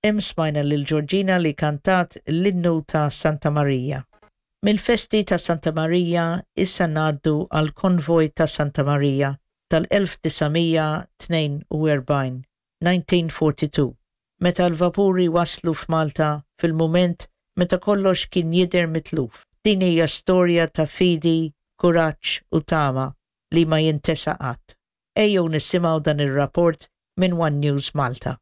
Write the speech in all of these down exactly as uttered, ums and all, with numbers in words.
Hemm smajna lil Georgina li kantat l-innu ta' Santa Marija. Mill-festi ta' Santa Marija issa ngħaddu għal konvoj ta' Santa Marija tal-elf disa' mija tnejn u erbgħin, nineteen forty-two, meta l-vapuri waslu f'Malta fil-mument meta kollox kien jidher mitluf. Din hija storja ta' fidi, kuraġġ u tama li ma jintesa qatt. Ejjew nisimgħu dan ir-rapport minn One News Malta.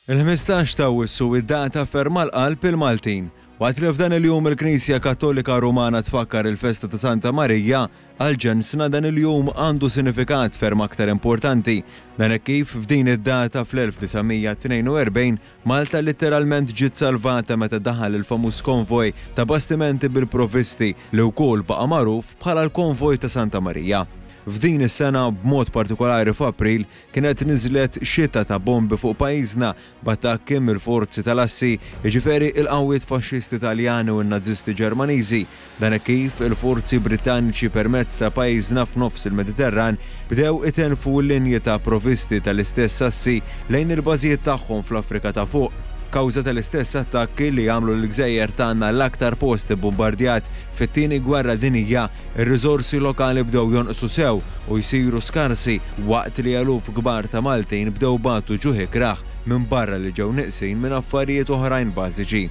Il-ħmistax ta' Awwissu, id-data ferm għal qalb il-Maltin. Waqt li f'dan il-jum il-Knisja Kattolika Rumana tfakkar il-festa ta' Santa Marija, għal ġensna dan il-jum għandu sinifikat ferm aktar importanti. Dan hekk kif f'din id-data fl-elf disa' mija tnejn u erbgħin Malta letteralment ġiet salvata meta daħal il-famuż konvoj ta' bastimenti bil-provisti li wkoll baqa' magħruf bħala l-konvoj ta' Santa Marija. F'din is-sena, b'mod partikolari f'April, kienet niżlet xita ta' bombi fuq pajjiżna b'attakki mill-forzi tal-assi, jiġifieri il-qawwiet faxxisti Taljani u n-Nazisti Ġermaniżi. Dan kif il-forzi Britanniċi permezz ta' pajjiżna f'nofs il-Mediterran bdew itenfu l-linji ta' provisti tal-istess assi lejn il-bażijiet tagħhom fl-Afrika ta' Fuq. Kawża tal-istess attakki li għamlu l-gżejjer tagħna l-aktar post bombardjat fit-Tieni Gwerra Dinija, ir-riżorsi lokali bdew jonqsu sew u jsiru skarsi, waqt li eluf kbar ta' Maltin bdew batu ġuħ ikrah minn barra li ġew neqsin minn affarijiet oħrajn bażiċi.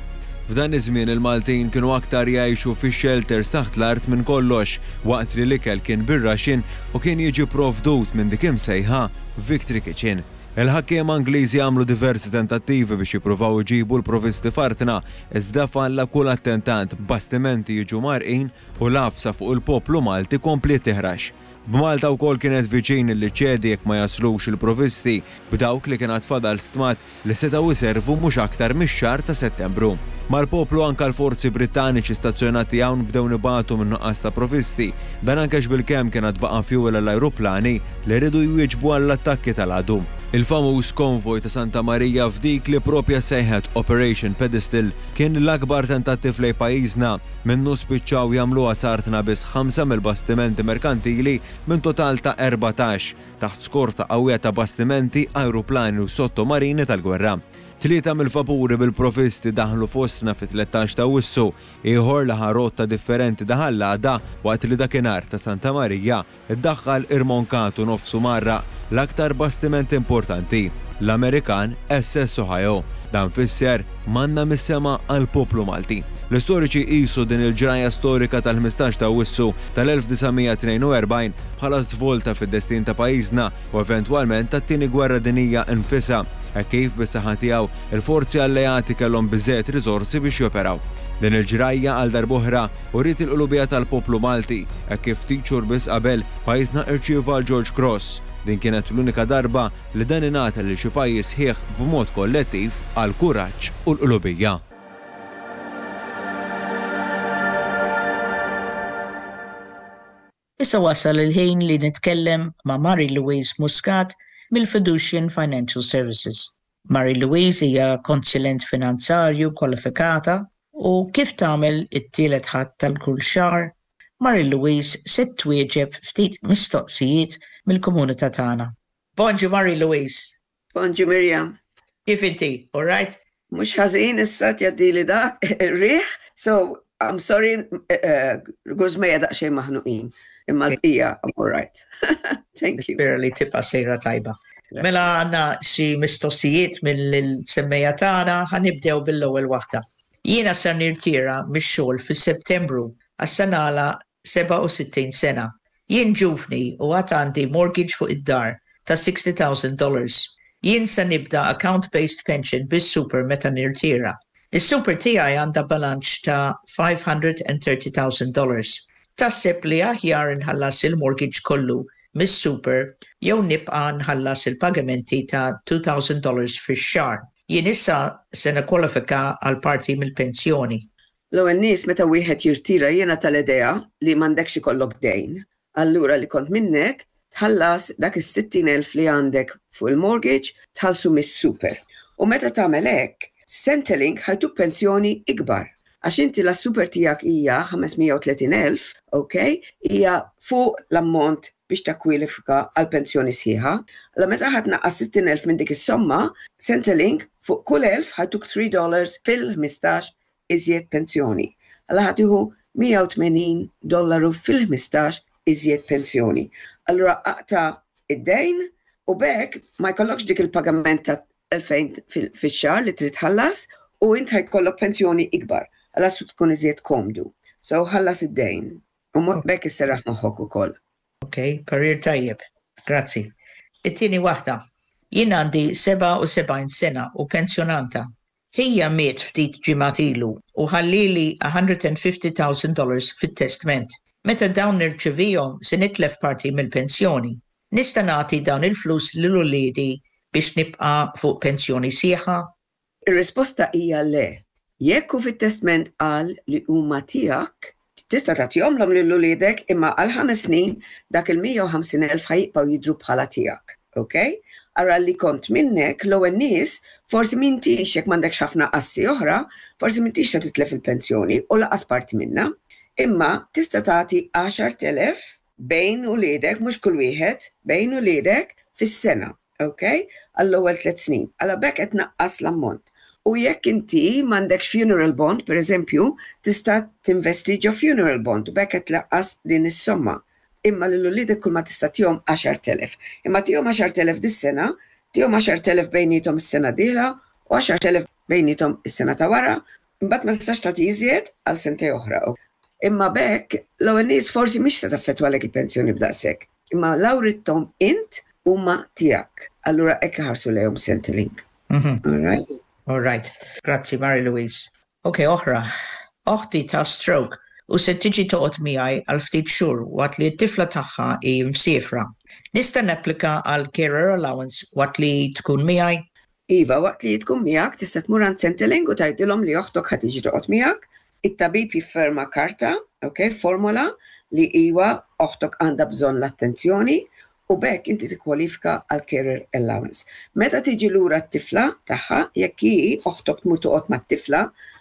F'dan iż-żmien il-Maltin kienu aktar jgħixu fi shelters taħt l-art minn kollox, waqt li l-ikel kien bir-ration u kien jiġi provdut minn dik imsejħa Victory Kitchen. Il-ħakkiema Ingliżi għamlu diversi tentattivi biex jippruvaw iġibu l-provisti f'artna, iżda falla kull attentat, bastimenti jiġu mgħarrqin u l-għafsa fuq il-poplu Malti kompliet tiħrax. B'Malta wkoll kienet viċin li ċedi jekk ma jaslux il-provisti, b'dawk li kien fadal stmat li setgħu jservu mhux aktar mix-xahar ta' Settembru. Mal-poplu anka l-forzi Britanniċi stazzjonati hawn bdew ibatu minn nuqqas ta' provisti. Dan anke bil-kemm kien baqa' fuel l-ajruplani li rridu jwieġbu għall-attakki tal-għadu. Il-famuż konvoj ta' Santa Maria f'dik li propja sejħet Operation Pedestal kien l-akbar tentattiv lejn pajjiżna. Minnu spiċċaw jagħmlu s'artna biss ħamsa mill-bastimenti merkantili minn total ta' erbatax, taħt skorta qawwija ta' bastimenti, ajruplani u sottomarini tal-gwerra. Tlieta mill-vapuri bil-provisti daħlu fostna fit-tlettax ta' Awwissu, ieħor li rotta differenti daħal l-għada, waqt li dakinhar ta' Santa Marija iddaħħal irmonkatu nofsu mgħarraq l-aktar bastiment importanti, l-Amerikan S S Ohio. Dan fisser manna mis-sema għal poplu Malti. L-istoriċi qisu din il-ġraja storika tal-ħmistax ta' Awwissu tal-elf disa' mija tnejn u erbgħin bħala svolta fid-destin ta' pajjiżna u eventwalment tat-Tieni Gwerra Dinija infisha, hekk kif bis-saħħa tiegħu il-forzi alleati kellhom biżżejjed riżorsi biex joperaw. Din il-ġrajja għal darb'oħra uriet il-qlubija tal-poplu Malti, hekk kif ftit xhur biss qabel pajjiżna irċieva l-George Cross. Din kienet l-unika darba li dan ingħata lil xi pajjiż sħiħ b'mod kollettiv għal kuraġġ u l-qlubija. Issa wasal il-ħin li nitkellem ma' Mary Louise Muscat mill-Fiducian Financial Services. Mary Louise hija konsulent finanzarju kwalifikata u kif tagħmel it-tielet Ħadd tal-kull xahar, Mary Louise se twieġeb ftit mistoqsijiet mill-komunità tagħna. Bonġu, Mary Louise. Bonġu, Miriam. Kif inti? All right? Mhux ħażin, issa tgħaddili dak ir-riħ, so I'm sorry, uh, griżmejja daqsxejn maħnuqin. Imma l-bqija, I'm all right. Thank you. Nispera li tibqa' sejra tajba. Mela għandna xi mistoqsijiet mill-semmiegħa tagħna, ħa nibdew bil-ewwel waħda. Jiena ser nirtira mix-xogħol fis-Settembru għax se nagħlaq sebgħa u sittin sena. Jien ġuvni u għad għandi mortgage fuq id-dar ta' sixty thousand dollars. Jien se nibda account-based pension bis-super meta nirtira. Is-super tiegħi għandha bilanċ ta' five hundred thirty thousand dollars. Taħseb li aħjar nħallas il-mortgage kollu mis-super jew nibqa' nħallas il-pagamenti ta' two thousand dollars fix-xahar? Jien issa se nikkwalifika għal parti mill-pensjoni. L-ewwel nies, meta wieħed jirtira, jiena tal-idea li m'għandekx ikollok dejn. Allura li kont minnek tħallas dak is-sittin elf li għandek fuq il-mortgage, tħallsu mis-super. U meta tagħmel hekk, Centrelink ħa jtuk pensjoni ikbar. Għax inti la super tiegħek hija ħames mija u tletin elf, ok? Hija fuq l-ammont biex takkwalifika għal pensjoni sħiħa. La meta ħa tnaqqas sittin elf minn dik is-somma, Centrelink fuq kull elf ħa jtuk tliet dollars fil-ħmistax iżjed pensjoni. Alla ħa tieħu mija u tmenin dollaru fil-ħmistax iżjed pensjoni. Allura aqta' id-dejn u b'hekk ma jkollokx dik il-pagament ta' elfejn fix-xahar li trid tħallas u int ħa jkollok pensjoni ikbar. Alla su tkun iżjed komdu. So ħallas id-dejn. U b'hekk isserraħ moħħok ukoll. Ok, parir tajjeb. Grazzi. It-tieni waħda. Jien għandi sebgħa u sebgħin sena u pensjonanta. Ħija miet ftit ġimgħat ilu u ħallili mija u ħamsin elf dollars fit-testment. Meta dawn nirċivihom se nitlef parti mill-pensjoni. Nista' nagħti dawn il-flus lil uliedi biex nibqa' fuq pensjoni sħiħa? Ir-risposta hija le. Jekk hu fit-testment qal li huma tiegħek, tista' tagħtihomlhom lil uliedek, imma għal ħames snin dak il-mija u ħamsin elf ħa jibqgħu jidhru bħala tiegħek. Ok? Ara li kont minnek, l-ewwel nies, forsi m'intix, jekk m'għandekx ħafna assi oħra, forsi m'intix se titlef il-pensjoni u lanqas parti minna. Imma tista' tagħti għaxart elef bejn uliedek, mhux kull wieħed, bejn uliedek fis-sena, ok? Għall-ewwel tliet snin. Għala b'hekk qed tnaqqas l-ammont. U jekk inti m'għandekx funeral bond, per eżempju, tista' tinvesti ġo funeral bond u b'hekk qed tnaqqas din is-somma. Imma lil uliedek kull ma tista' tihom għaxart elef. Imma tihom għaxart elef dis-sena, tihom għaxart elef bejniethom is-sena dieħla u għaxart elef bejniethom is-sena ta' wara, imbagħad ma tistax tagħti iżjed għal sentej oħra. Imma b'hekk l-ewwel nies forsi mhix se taffettwalek il-pensjoni b'daqshekk. Imma la writthom int, huma tiegħek. Allura hekk ħarsu lejhom Centrelink. Mhm. All right? All right. Grazzi, Mary Louise. Ok, oħra. Oħti ta' stroke u se tiġi toqgħod miegħi għal ftit xhur waqt li t-tifla tagħha hi msiefra. Nista' napplika għal carer allowance waqt li tkun miegħi? Iva, waqt li tkun miegħek tista' tmur għand Centrelink u tgħidilhom li oħtok ħa tiġi toqgħod miegħek. It-tabib jifferma karta, ok, formola li iwa, oħtok għandha bżonn l-attenzjoni u b'hekk inti tikkwalifika għal carer allowance. Meta tiġi lura t-tifla tagħha, jekk hi oħtok tmur toqgħod mat-tifla,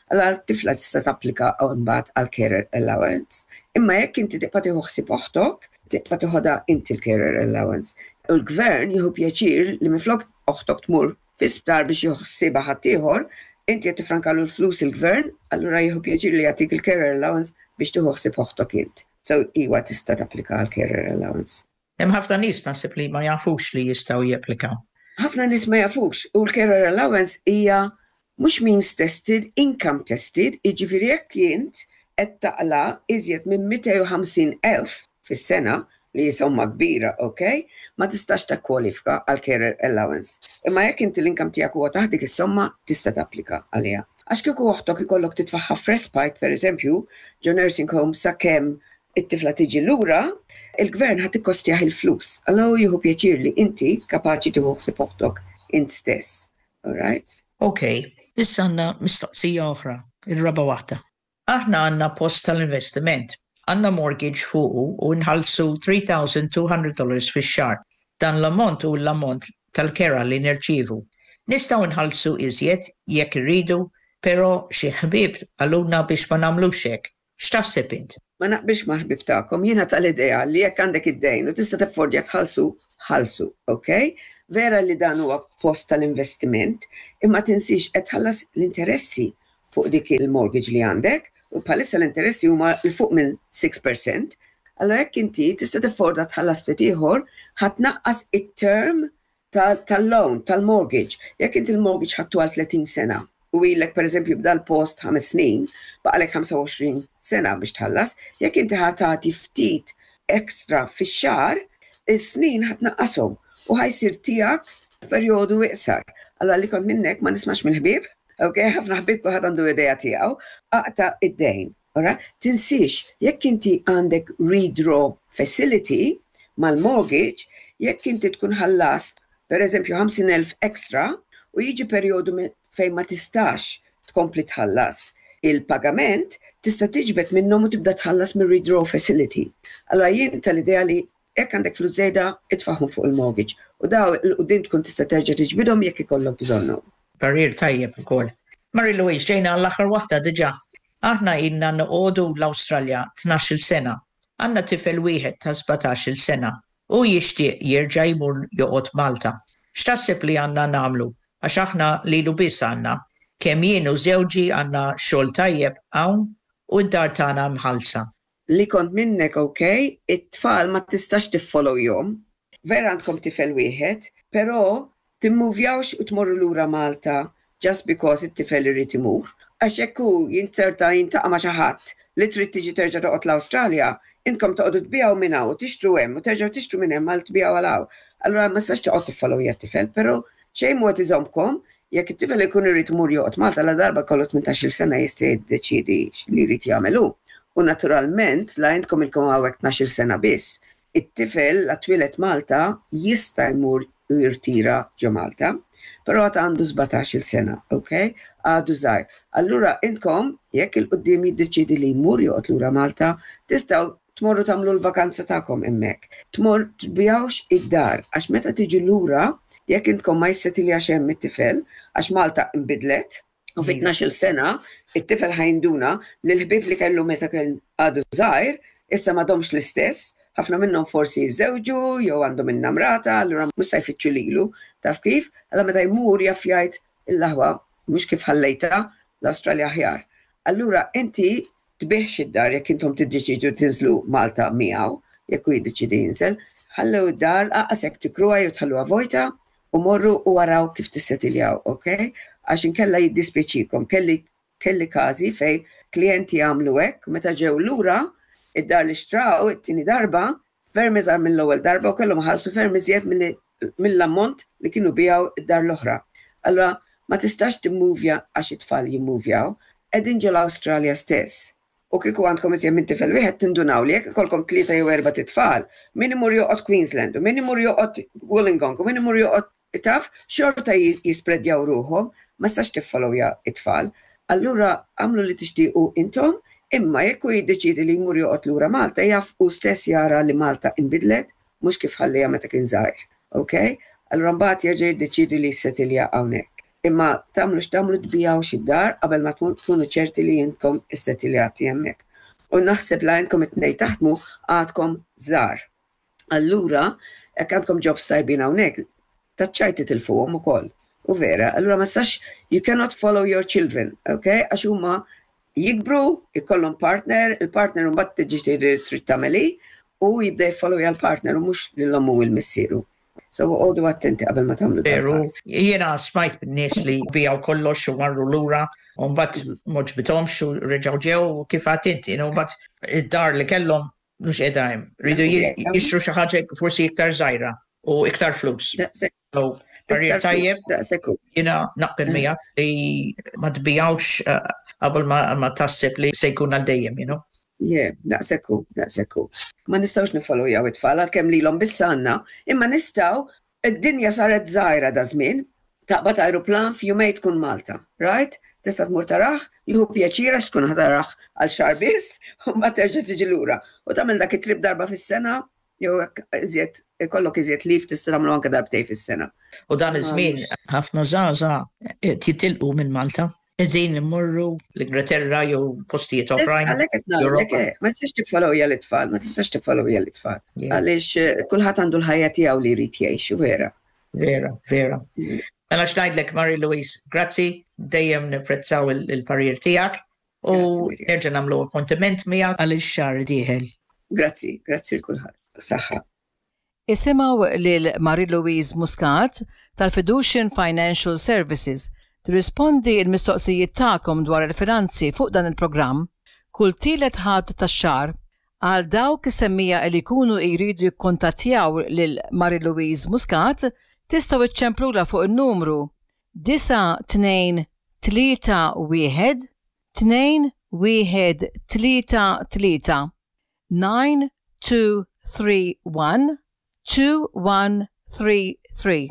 allura t-tifla tista' tapplika mbagħad għal carer allowance. Imma jekk inti tibqa' tieħu ħsieb oħtok, tibqa' tieħodha inti l-carer allowance. U l-gvern jieħu pjaċir li minflok oħtok tmur fi sptar biex jieħu ħaddieħor, inti qed tifrankalu l-flus il-gvern, allura jieħu pjaċir li jagħtik il-carer allowance biex tieħu ħsieb oħtok int. So iwa, tista' tapplika għal carer allowance. Hemm ħafna nies naħseb li ma jafux li jistgħu japplikaw. Ħafna nies ma jafux u l-carer allowance hija mhux means tested, income tested, jiġifieri jekk int qed taqla' iżjed minn mitejn u ħamsin elf fis-sena, li somma kbira, ok, ma tistax takkwalifika għal carer allowance. Imma jekk inti l-income tiegħek huwa taħt dik is-somma, tista' tapplika għaliha. Għax kieku oħtok ikollok titfagħha f'respite, per eżempju, ġo nursing home sakemm it-tifla tiġi lura, il-gvern ħa tikkostjah il-flus. Allura jieħu pjaċir li inti kapaċi tieħu ħsieb oħtok int stess. All right? Ok, issa għandna mistoqsija oħra, il-raba waħda. Aħna għandna post tal-investiment. Għandna mortgage fuqu u nħallsu tliet elef u mitejn dollars fix-xahar. Dan l-ammont hu l-ammont tal-kera li nirċivu. Nistgħu nħallsu iżjed jekk irridu, pero xi ħbieb qalulna biex ma nagħmlux hekk. X'taħseb int? Ma naqbilx ma' ħbib tagħkom, jiena tal-idea li jekk għandek id-dejn u tista' taffordja tħallsu, ħallsu, ok? Vera li dan huwa post tal-investiment, imma tinsix qed tħallas l-interessi fuq dik il-mortgage li għandek u bħalissa l-interessi huma 'l fuq minn sitta fil-mija. Allora jekk inti tista' tafforda tħallas ftit ieħor, ħa tnaqqas it-term tal-loan, tal-mortgage. Jekk inti l-mortgage ħadtu għal tletin sena u ilek per eżempju b'dal post ħames snin, baqalek ħamsa u għoxrin sena biex tħallas, jekk inti ħa tagħti ftit ekstra fix-xahar, il-snin ħa tnaqqashom u ħa jsir tiegħek f'perjodu iqsar. Allora li kont minnek ma nismax mill-ħbieb, ok, ħafna ħbieb, kulħadd għandu idea tiegħu, aqta' id-dejn. Ora, tinsix, jekk inti għandek redraw facility mal-mortgage, jekk inti tkun ħallast, per eżempju, ħamsin elf extra, u jiġi perjodu fejn ma tistax tkompli tħallas il-pagament, tista' tiġbed minnhom u tibda tħallas mir redraw facility. Allora jien tal-idea li jekk għandek flus żejda, itfagħhom fuq il-mortgage. U daw 'il quddiem tkun tista' terġa' tiġbidhom jekk ikollok bżonnhom. Parir tajjeb ukoll. Mary Louise, ġejna l-aħħar waħda diġà. Aħna ilna noqogħdu l-Awstralja tnax-il sena. Għandna tifel wieħed ta' sbatax-il sena. U jixtieq jerġa' jmur joqgħod Malta. X'taħseb li għandna nagħmlu? Għax aħna lilu biss għandna. Kemm jien u żewġi għandna xogħol tajjeb hawn u d-dar tagħna mħallsa. Li kont minnek, ok, it-tfal ma tistax tiffollowjahom. Vera għandkom tifel wieħed, però timmuvjawx u tmorru lura Malta just because it-tifel irid imur. Għax jekk hu jinzerta jiltaqa' ma' xi ħadd li trid tiġi terġa' toqgħod l-Awstralja, intkom toqgħodu tbigħu minn hawn u tixtru hemm u terġgħu tixtru minn hemm għal tbigħu għal hawn. Allura ma tistax toqgħod tiffollowja t-tifel, però xejn mhu qed iżommkom. Jekk it-tifel ikun irid imur joqgħod Malta, la darba kollu tmintax-il sena jista' jiddeċiedi li jrid jagħmel hu. U naturalment, la intkom ilkom hawnhekk tnax-il sena biss, it-tifel la twieled Malta jista' jmur u jirtira ġo Malta, però għad għandu sbatax-il sena, ok? Għadu żgħir. Allura intkom, jekk 'il quddiem jiddeċiedi li jmur joqgħod lura Malta, tistgħu tmorru tagħmlu l-vakanza tagħkom hemmhekk. Tmor tbigħux id-dar, għax meta tiġi lura, jekk intkom ma jissetiljax hemm it-tifel, għax Malta imbidlet, u fi tnax-il sena it-tifel ħa jinduna li l-ħbieb li kellu meta kien għadu żgħir issa m'għadhomx l-istess, ħafna minnhom forsi jiżżewġu jew għandhom innamrata, allura mhux se jfittxu lilu, taf kif? Allura meta jmur jaf jgħid, "Il-laħwa mhux kif ħallejta, l-Awstralja aħjar." Allura inti tbigħx id-dar jekk intom tiddeċidu tinżlu Malta miegħu, jekk hu jiddeċidi jinżel, ħallew id-dar aqas jekk tikruha jew tħalluha vojta u morru u waraw kif tissetiljaw, ok? Għax inkella jiddispjaċikom. Kelli kelli każi fej klijenti għamlu hekk, meta ġew lura, id-dar li xtraw it-tieni darba ferm iżgħar mill-ewwel darba u kellhom ħallsu ferm iżjed mill-ammont li kienu biegħu id-dar l-oħra. Allura ma tistax timmuvja għax it-tfal jimmuvjaw, qegħdin ġo l-Awstralja stess. U kieku għandkom iżjed minn tifel wieħed tindunaw li jekk ikollkom tlieta jew erba' titfal, min imur joqgħod Queensland u min imur joqgħod Wollongong u min imur joqgħod, taf, xorta jispredjaw ruħhom, ma tistax tiffollowja it-tfal. Allura għamlu li tixtiequ intom, imma jekk hu jiddeċiedi li jmur joqgħod lura Malta, jaf u stess jara li Malta inbidlet, mhux kif ħallija meta kien żgħir. Ok? Allura mbagħad jerġa' jiddeċiedi li jissetilja hawnhekk. Imma tagħmlu x'tagħmlu tbigħux id-dar qabel ma tkunu ċerti li intkom issetiljati hemmhekk. U naħseb la intkom it-tnejn taħdmu għadkom żgħar. Allura, jekk għandkom jobs tajbin hawnhekk, taċċajti titilfuhom ukoll. U vera, allura ma tistax, you cannot follow your children, ok? Għax huma jikbru, ikollhom partner, il-partner mbagħad tiġi tgħid trid tagħmeli u jibda jfollow l-partner u mhux lil ommu u l-missieru. So għodu attenti qabel ma tagħmlu. Veru, jiena smajt nies li biegħu kollox u marru lura u mbagħad m'għoġbithomx u reġgħu ġew u kif għedt inti, u mbagħad id-dar li kellhom mhux qiegħda hemm. Ridu jixtru xi ħaġa forsi iktar żgħira u iktar flus. So, parir tajjeb, jiena naqbel miegħek li ma tbigħux eh, qabel ma taħseb li se jkun għal dejjem, you know? Yeah, daqshekk hu, daqshekk hu. Ma nistgħux nifollowjaw it-tfal għalkemm lilhom biss għandna, imma nistgħu, id-dinja saret żgħira da żmien, taqbad aeroplan, f'jumejn tkun Malta, right? Tista' tmur tarah, jieħu pjaċir għax tkun ħa tarah għal xahar biss, u mbagħad terġa' tiġi lura. U tagħmel dak it-trip darba fis-sena, jew iżjed ikollok iżjed leave tista' tagħmlu anke darbtejn fis-sena. U dan iż-żmien ħafna żgħażagħ jitilqu minn Malta, qegħdin immorru l-Ingilterra jew postijiet oħrajn. Ma tistax tiffollowja l-itfal, ma tistax tiffollowja l-itfal. Għaliex eh, kulħadd għandu l-ħajja tiegħu li jrid jgħix, vera. Vera, vera. Mela x'ngħidlek, Mary Louise, grazzi, dejjem nipprezzaw il-parir tiegħek u nerġa' nagħmlu appuntament miegħek għal ix-xahar dieħel. Grazzi, grazzi lil kulħadd. Saħħa. Isimgħu lil Marie Louise Muscat tal-Fiducian Financial Services tirrispondi il-mistoqsijiet tagħkom dwar il-finanzi fuq dan il-programm kull tielet Ħadd tax-xahar. Għal dawk is-semmiegħa li jkunu jridu jikkontattjaw lil Marie Louise Muscat, tistgħu iċċemplula fuq il-numru disgħa tnejn tlieta wieħed tnejn wieħed tlieta tlieta, nine two three one two one three three.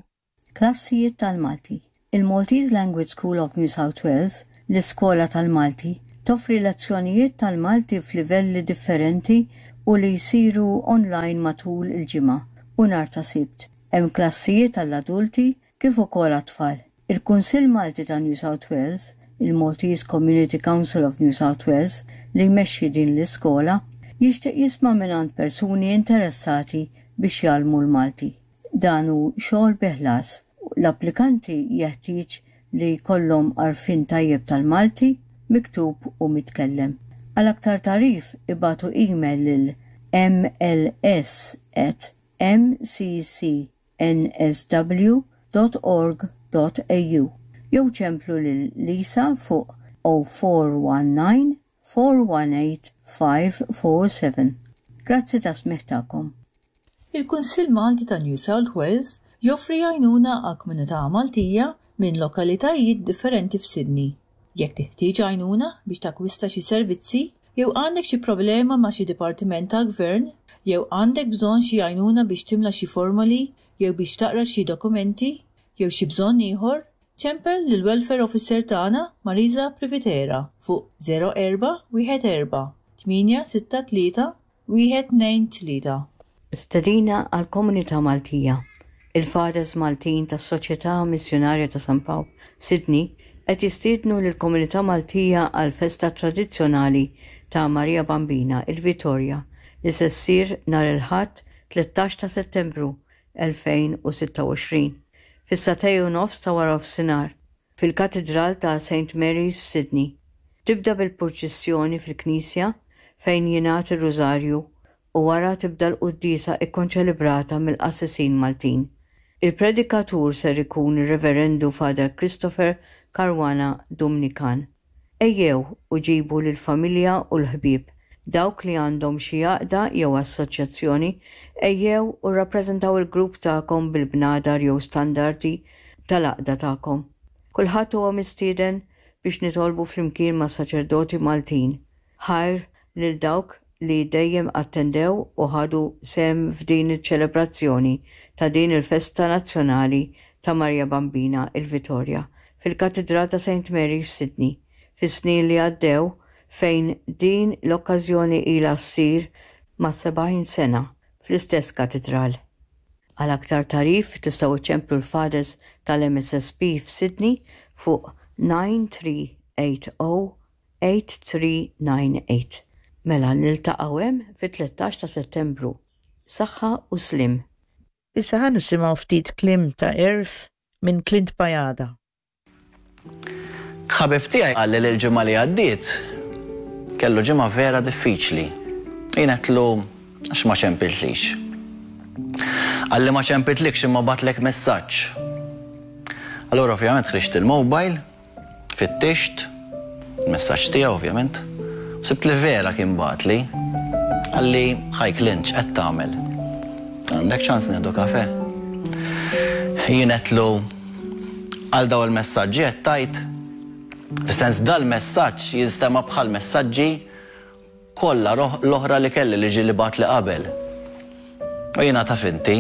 Klassijiet tal-Malti. Il-Maltese Language School of New South Wales, l-Iskola tal-Malti, toffri lezzjonijiet tal-Malti f'livelli differenti u li jsiru online matul il-ġimgħa u nhar ta' Sibt. Hemm klassijiet għall-adulti kif ukoll għat-tfal. Il-Kunsill Malti ta' New South Wales, il-Maltese Community Council of New South Wales, li jmexxi din l-iskola, jixtieq jisma' mingħand persuni interessati biex jgħallmu l-Malti. Dan hu xogħol bi ħlas. L-applikanti jeħtieġ li jkollhom għarfien tajjeb tal-Malti, miktub u mitkellem. Għal aktar tagħrif ibagħtu email lil M L S at M C C N S W dot org dot A U jew ċemplu lil Lisa fuq zero four one nine four one eight five four seven. Grazzi tas-smigħ tagħkom. Il-Kunsill Malti ta' New South Wales joffri għajnuna għal komunità Maltija minn lokalitajiet differenti f'Sydney. Jekk teħtieġ għajnuna biex takwista xi servizzi, jew għandek xi problema ma' xi dipartiment tal-gvern, jew għandek bżonn xi għajnuna biex timla xi formoli, jew biex taqra xi dokumenti, jew xi bżonn ieħor, ċempel lil welfare officer tagħna Marisa Privitera fuq zero erba' wieħed erba' tmienja sitta tlieta wieħed tnejn tlieta. Stedina għal komunità Maltija. Il-Fathers Maltin tas-Soċjetà Missjonarja ta' San Pawl, Sydney, qed jistiednu lill-komunità Maltija għal festa tradizzjonali ta' Maria Bambina, il-Vitorja, li se ssir nhar il-Ħadd tlettax ta' Settembru elfejn u sitta u għoxrin fis-sagħtejn u nofs ta' wara nofsinhar fil-Katidral ta' Saint Mary's f'Sydney. Tibda bil-purċissjoni fil-Knisja fejn jingħad ir-Rużarju u wara tibda l-quddiesa ikkonċelebrata mill-qassisin Maltin. Il-predikatur ser ikun ir-Reverendu Father Christopher Caruana Dumnikan. Ejjew u ġibu lill-familja u l-ħbieb. Dawk li għandhom xi għaqda jew assoċjazzjoni, ejjew u rrappreżentaw il-grupp tagħkom bil-bnadar jew standardi tal-għaqda tagħkom. Kulħadd huwa mistieden biex nitolbu flimkien ma' saċerdoti Maltin. Ħajr lil dawk li dejjem attendew u ħadu sehem f'din iċ-ċelebrazzjoni ta' din il-festa nazzjonali ta' Maria Bambina, il-Vitorja, fil-Katidral ta' Saint Mary f'Sydney fis-snin li għaddew, fejn din l-okkażjoni ilha ssir ma' sebgħin sena fl-istess katidral. Għal aktar tagħrif tistgħu ċemplu l-Fathers tal-M S S P f'Sydney fuq nine three eight zero eight three nine eight. Mela niltaqgħu hemm fit-tlettax ta' Settembru. Saħħa u sliem. Issa ħa nisimgħu ftit kliem ta' għerf minn Clint Bajada. Ħabib tiegħi qalli li l-ġimgħa li għaddiet kellu ġimgħa vera diffiċli. Jien għedtlu għax ma ċempiltlix. Qalli ma ċempiltlikx imma bgħattlek messaġġ. Allura ovvjament ħriġt il-mobile, fittixt, il-messaġġ tiegħu ovvjament, sibt li vera kien bagħatli. Qalli, "Hi Clint, qed tagħmel? Għandek ċans nieħdu kafe?" Jien għedtlu għal daw il-messaġġi qed tajt. Fis-sens, dal-messaġġ jinstema' bħal messaġġi kollha l-oħra li kelli li ġieli bagħatli qabel. U jiena, taf inti,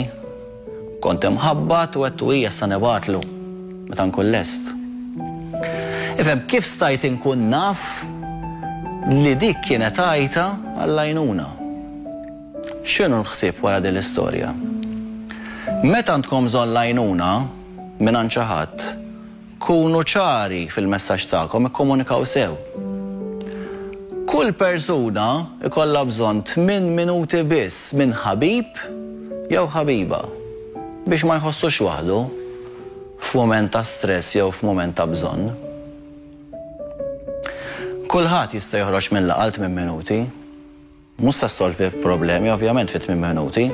kont imħabbat u għedtlu hija sa nibgħatlu meta nkun lest. Ifhem, kif stajt inkun naf li dik kienet għajta għall-għajnuna? X'inhu l-ħsieb wara din l-istorja? Meta għandkom bżonn l-għajnuna minn xi ħadd, kunu ċari fil-messaġġ tagħkom, ikkomunikaw sew. Kull persuna ikollha bżonn tmien minuti biss minn ħabib jew ħabiba biex ma jħossux waħdu f'mument ta' stress jew f'mument ta' bżonn. Kulħadd jista' joħroġ minn laqal tmien minuti. Mhux se ssolvi problemi ovvjament fi tmien minuti.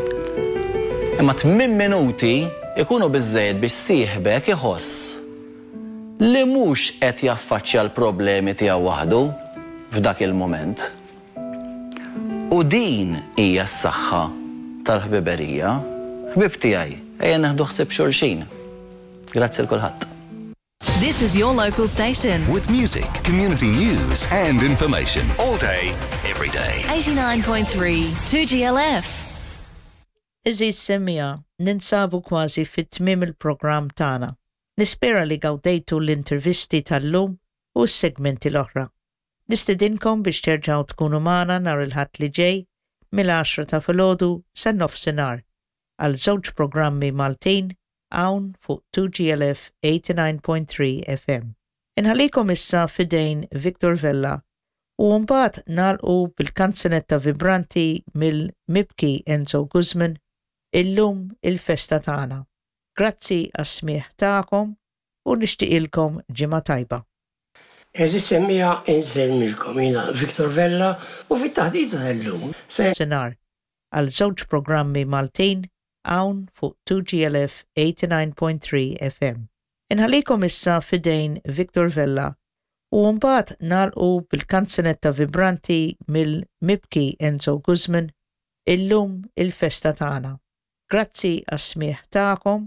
Imma tmien minuti ikunu biżejjed biex sieħbek iħoss li mhux qed jaffaċċja l-problemi tiegħu waħdu f'dak il-moment. U din hija s-saħħa tal-ħbiberija. Ħbib tiegħi, ejja nieħdu ħsieb xulxin. Grazzi 'l kulħadd. This is your local station. With music, community news, and information. All day, every day. eighty-nine point three two G L F. Għeżież semmiegħa, ninsabu kważi fit-tmiem il-programm tagħna. Nispera li gawdejtu l-intervisti tal-lum u s-segmenti l-oħra. Nistedinkom biex terġgħu tkunu magħna nhar il-Ħadd li ġej mill-għaxra ta' filgħodu sa nofsinhar għal żewġ programmi Maltin hawn fuq two G L F eighty-nine point three F M. Inħallikom issa f'idejn Victor Vella u mbagħad nagħlqu bil-kanzunetta vibranti mill-mibki Enzo Guzman. Illum il-festa tagħna. Grazzi għas-smigħ tagħkom u nixtieqilkom ġimgħa tajba. Għeżież semmiegħa, insellmilkom, jiena Victor Vella u fit-taħdita tal-lum se Senar għal żewġ programmi Maltin hawn fuq two G L F eighty-nine point three F M. Inħallikom issa f'idejn Victor Vella u mbagħad nagħlqu bil-kanzunetta vibranti mill-mibki Enzo Guzman, Illum il-festa tagħna. Grazzi għas-smigħ tagħkom.